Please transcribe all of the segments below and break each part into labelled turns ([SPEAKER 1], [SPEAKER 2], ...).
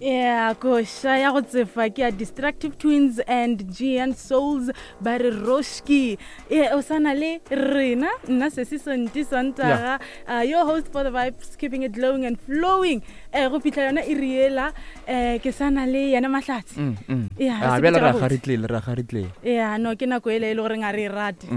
[SPEAKER 1] Yeah, koša ya go tsefa ke ya Destructive Twins and Gian Souls ba re Roshki. E o sana le rena nna sesi Sonti Sontaga, your host for the vibes, keeping it glowing and flowing. Eh go fihla yona e riela eh ke sana le yena Mahlatsi. Yeah, re
[SPEAKER 2] Ah, bjale
[SPEAKER 1] sepetše
[SPEAKER 2] ra
[SPEAKER 1] gabotse.
[SPEAKER 2] garitlele ra garitlele
[SPEAKER 1] Yeah, no ke nako ele e le goreng a re e rate.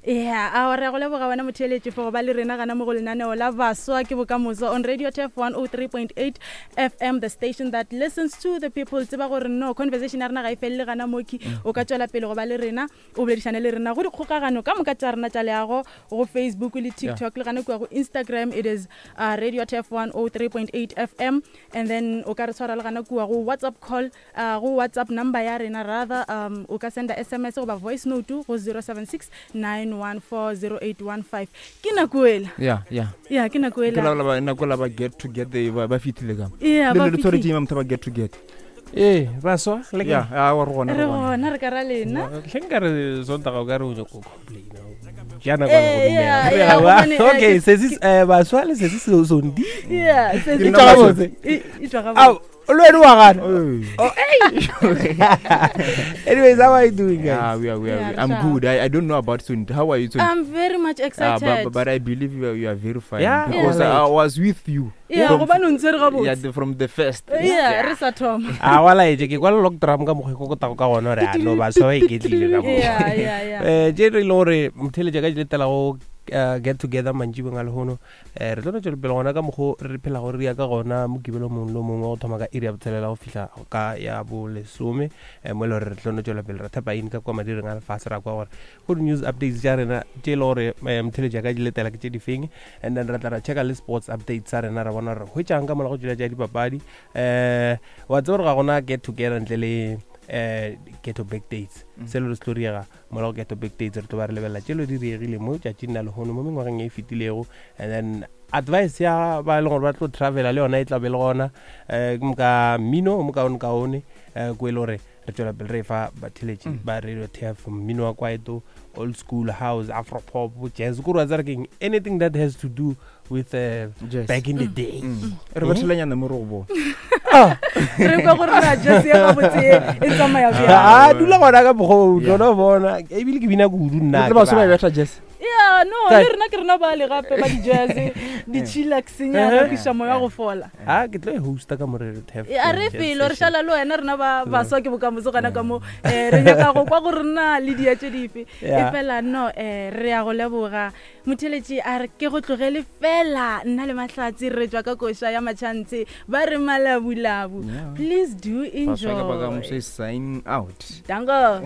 [SPEAKER 1] Yeah, a re a go leboga wena motheeletši for go ba le rena gana mo go lenaneo la baswa ke bokamoso on Radio Turf 103.8 FM, the station that listens to the people. Tseba gore no conversation ya rena ga e felele gana moki. O ka tšwela pele go ba le rena, o boledišane le rena go dikgokagano ka moka tša rena tša leago go Facebook le TikTok le gana kua go Instagram. It is Radio Turf 103.8 FM, and then o ka re tshwara le gana kua go WhatsApp call, go WhatsApp number ya rena rather, o ka senda SMS goba voice note go 076 914 0815. Ke nako ela.
[SPEAKER 2] Yeah, yeah.
[SPEAKER 1] Yeah, ke nako
[SPEAKER 2] Ke
[SPEAKER 1] ela.
[SPEAKER 2] la ba nako la ba get together ba ba fitile ka.
[SPEAKER 1] Yeah,
[SPEAKER 2] Le
[SPEAKER 1] ba
[SPEAKER 2] le tshware
[SPEAKER 1] fihlile.
[SPEAKER 2] tšeng motho ba get together.
[SPEAKER 3] Ee, baswa le
[SPEAKER 2] Yeah,
[SPEAKER 3] kae?
[SPEAKER 2] a wa re gona
[SPEAKER 1] Re
[SPEAKER 2] re gona.
[SPEAKER 1] gona re ka ra lena.
[SPEAKER 3] Hle nka re Sontaga o ka re o nyako complaina. Ja nako ya go
[SPEAKER 1] Eh,
[SPEAKER 3] dumela.
[SPEAKER 1] yeah,
[SPEAKER 3] Re
[SPEAKER 1] yeah,
[SPEAKER 3] a wa.
[SPEAKER 1] gobane, eh,
[SPEAKER 3] Okay,
[SPEAKER 1] ke-
[SPEAKER 3] sesi baswa le sesi Sondi.
[SPEAKER 1] Yeah, se-
[SPEAKER 2] Ke
[SPEAKER 1] se-
[SPEAKER 2] nna
[SPEAKER 3] Tšwa gabotse.
[SPEAKER 1] E tšwa gabotse.
[SPEAKER 3] Ao, le wena wa gana.
[SPEAKER 2] Hey.
[SPEAKER 3] Oh, hey. Anyways, how are you doing, guys?
[SPEAKER 2] Yeah, we are, we are.
[SPEAKER 1] Yeah,
[SPEAKER 2] I'm
[SPEAKER 1] sharp.
[SPEAKER 2] good. I don't know about Sunti. How are you, Sunti?
[SPEAKER 1] I'm very much excited.
[SPEAKER 2] But I believe you are very fine.
[SPEAKER 3] Yeah,
[SPEAKER 2] Because
[SPEAKER 3] yeah.
[SPEAKER 2] I was with you.
[SPEAKER 1] Yeah,
[SPEAKER 2] From
[SPEAKER 1] gobane o ntshwere gabotse.
[SPEAKER 2] Yeah, from the first.
[SPEAKER 1] Yeah, re sa thoma.
[SPEAKER 3] A wa laetše ke kwa le lock drum ka mokgwa e kokotago ka gona gore a no baswa ba iketlile ka mo.
[SPEAKER 1] Yeah, yeah, yeah.
[SPEAKER 3] Tše re ile gore motheletša ka di letela go get together mantšibeng a lehono, re tlo no tšwela pele gona ka mokgo re phelago re ya ka gona mokibelo mongwe le mongwe go thoma ka iri ya botshelela go fihla ka ya bolesome, mo e le gore re tlo no tšwela pele ra thapa in ka kwa madireng a lefase ra kwa gore go di-news updates tša rena tše e le gore motheletša ka di letela ke tše di feng, and then re tla ra checka le sports updates tsa rena ra bona gore hwetšang ka mola go tšwela tša dipapadi. Wa tseba gore ga gona get together ntle le ghetto back dates. Selo re se tlo riega mola go ghetto back dates, re tlo ba re lebelela tšelo di riegile mo tšatšing la lehono mo mengwageng e fetilego, and then advice ya ba e leng gore ba tlo travela le yona e tla be le gona, ke moka mmino o mokaonekaone, ko e le gore re tšwela pele re e fa batheletši ba Radio TF mmino wa kwaito, old school house, afro pop, jazz, kore wa tseba re keng, anything that has to do with
[SPEAKER 2] Jazz.
[SPEAKER 3] back in the day.
[SPEAKER 2] Re bathelanyana mo re go bona.
[SPEAKER 1] Re kwa gore na jazz ya gabotse e tsamaya bjang.
[SPEAKER 3] A dula gona ka mokgwa o
[SPEAKER 2] Yeah.
[SPEAKER 3] tlo bona ebile ke bina kudu nna.
[SPEAKER 2] Le baswa ba betha jazz.
[SPEAKER 1] Yeah, no,
[SPEAKER 3] Kae?
[SPEAKER 1] le rena ke rena ba le gape ba di-jazz, di-chillax-nyana, kwiša moya go fola.
[SPEAKER 3] A ke tlo e hosta ka mo Radio TF.
[SPEAKER 1] E, a re
[SPEAKER 3] Jazz
[SPEAKER 1] felo re
[SPEAKER 3] session.
[SPEAKER 1] šala le wena rena ba baswa ke bokamoso gona ka mo, re nyaka go kwa gore na le dia tše dife. E fela no, re ya go leboga motheletši, a re ke go tlogele fela nna le Mahlatsi re tswa ka koša ya Machantse ba re malabulabu.
[SPEAKER 2] Yeah.
[SPEAKER 1] Please do
[SPEAKER 2] Baswa ke
[SPEAKER 1] enjoy.
[SPEAKER 2] bokamoso is signing out.
[SPEAKER 1] Dango.